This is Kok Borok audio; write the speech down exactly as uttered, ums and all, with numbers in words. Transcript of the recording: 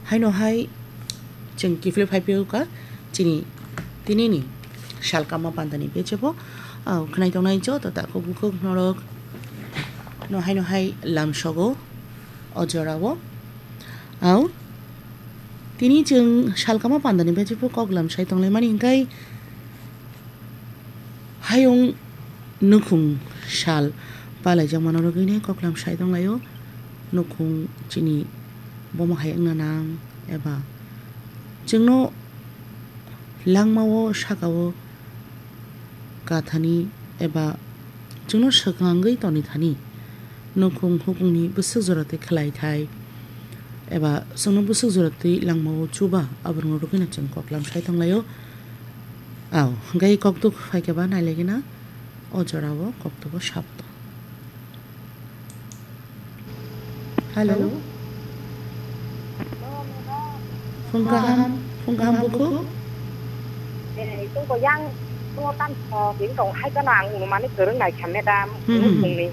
Haino hai chwng kiphilwi phai phiyokha chini tinini sal kama pandani bejebo. Au khwnai tongnai joto takhuk bukhuk norok no haino hai lamsogo o jorao. Au tini chwng sal kama pandani bejebo kok lamsai tonglaimani hwnkhe hayung nukhung sal palaijakmano rwgwini koklam sai tonglaio. Nukhung chini bomo hai wngna nang eba chwngno langmao sakao kathani eba chwngno swkangwi toni thani nukhung hukungni bwswk jora twi khlai thai eba chwngno bwswk jora twi langmao chuba aborokno rwgwino chwng koklam sai tonglaio. Au, hwnkhe koktuk phaikhe ba nailaigwino o jorao koktubo sabto. Hello. Hello. Phung kaham, phung kaham bukhuk. Eh, itu ko yang, itu kan, eh, ini kong hai kana ang unu mani kereng nai kha madam, Hmm, hmm. Ini kong ni.